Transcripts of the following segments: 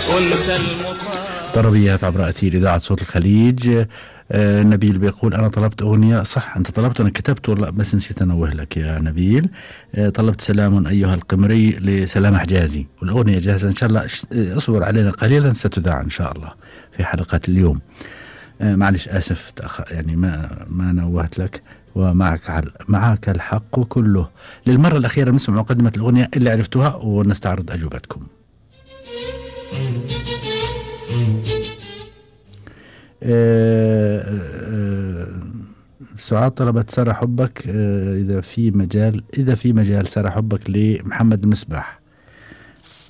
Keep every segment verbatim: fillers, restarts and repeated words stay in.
كنت المطاع. طربيات عبر أثير إذاعة صوت الخليج. آه نبيل بيقول أنا طلبت أغنية. صح أنت طلبت وأنا كتبت والله بس نسيت أنوه لك يا نبيل. آه طلبت سلام أيها القمري لسلام حجازي، والأغنية جاهزة إن شاء الله. اصبر علينا قليلا ستذاع إن شاء الله في حلقة اليوم. آه معلش آسف تأخ... يعني ما ما نوهت لك. ومعك عل... معك الحق كله. للمرة الأخيرة نسمع مقدمة الأغنية اللي عرفتوها ونستعرض أجوبتكم. آه آه سعاد طلبت سارة حبك. آه إذا في مجال إذا في مجال سارة حبك لمحمد المصباح.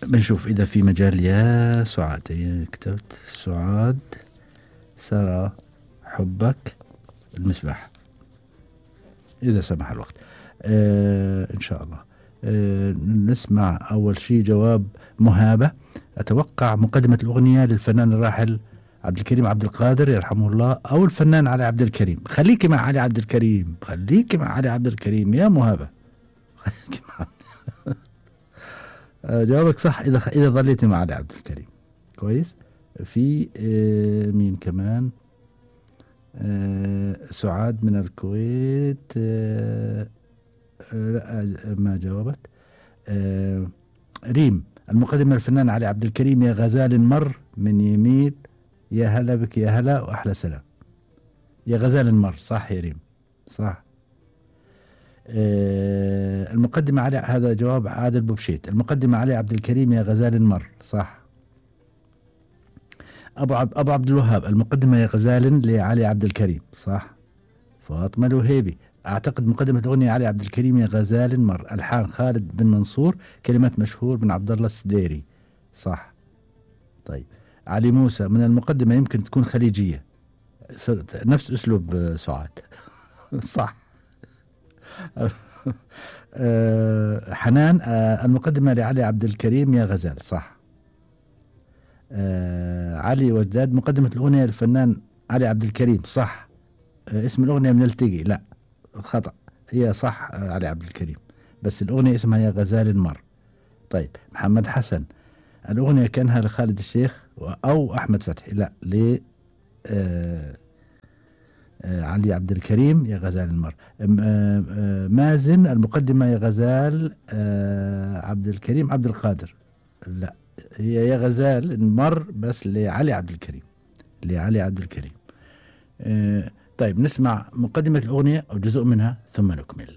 بنشوف إذا في مجال يا سعاد. هي كتبت سعاد سارة حبك المصباح إذا سمح الوقت. آه إن شاء الله. آه نسمع أول شيء جواب مهابة. أتوقع مقدمة الأغنية للفنان الراحل عبد الكريم عبد القادر يرحمه الله أو الفنان علي عبد الكريم. خليكي مع علي عبد الكريم خليكي مع علي عبد الكريم يا مهابة. خليكي مع آه جوابك صح إذا إذا ظليتي مع علي عبد الكريم كويس. في آه مين كمان. آه سعاد من الكويت. آه آه ما جاوبت. آه ريم المقدمة الفنان علي عبد الكريم يا غزال مر من يميل يا هلا بك يا هلا وأحلى سلام. يا غزال مر صح يا ريم صح. آه المقدمة علي هذا جواب عادل بوبشيت. المقدمة علي عبد الكريم يا غزال مر صح. أبو عب أبو عبد الوهاب المقدمة يا غزال لعلي عبد الكريم صح. فاطمة الوهيبي أعتقد مقدمة أغنية علي عبد الكريم يا غزال مر. ألحان خالد بن منصور كلمات مشهور بن عبد الله السديري صح. طيب علي موسى من المقدمة يمكن تكون خليجية نفس أسلوب سعاد صح. أه حنان أه المقدمة لعلي عبد الكريم يا غزال صح. أه علي وجداد مقدمة الأغنية للفنان علي عبد الكريم صح. أه اسم الأغنية من التقي لا خطأ هي صح. أه علي عبد الكريم بس الأغنية اسمها يا غزال مر. طيب محمد حسن الأغنية كانها لخالد الشيخ أو أحمد فتحي لا ل أه أه علي عبد الكريم يا غزال المر. أه أه مازن المقدمة يا غزال أه عبد الكريم عبد القادر لا هي يا غزال المر بس لعلي عبد الكريم لعلي عبد الكريم. أه طيب نسمع مقدمة الأغنية أو جزء منها ثم نكمل.